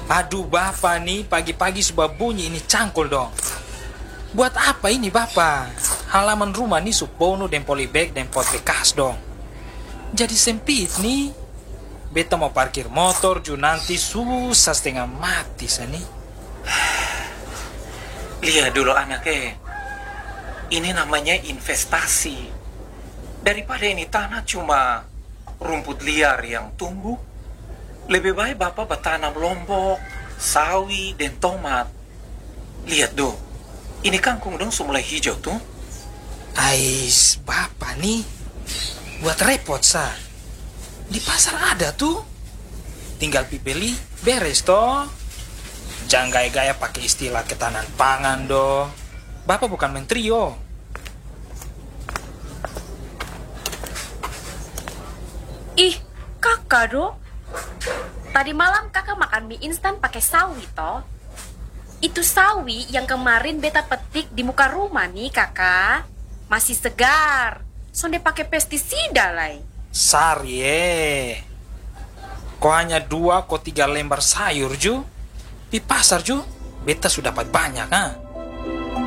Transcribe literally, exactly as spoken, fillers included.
Aduh bapa ni, pagi-pagi su babunyi ini cangkul dong. Buat apa ini bapa? Halaman rumah ni su ponu deng polybag deng pot bekas dong. Jadi sempit ni. Beta mau parkir motor ju nanti susah setengah mati sa ni. Lihat dulu anak eh, ini namanya investasi. Daripada ini tanah cuma rumput liar yang tumbuh, lebih baik bapak bertanam lombok, sawi, dan tomat. Lihat dong, ini kangkung dong su mulai hijau tuh. Ais, bapa ni buat repot sa. Di pasar ada tuh. Tinggal pi beli, beres toh. Jangan gaya-gaya pakai istilah ketahanan pangan dong. Bapa bukan menteri yo. Ih, kakak dong. Tadi malam kakak makan mie instan pakai sawi toh. Itu sawi yang kemarin beta petik di muka rumah nih kakak. Masih segar. Sonde pakai pestisida lai. Sari eh. Ko hanya dua ko tiga lembar sayur ju. Pi pasar ju. Beta su dapat banyak ha.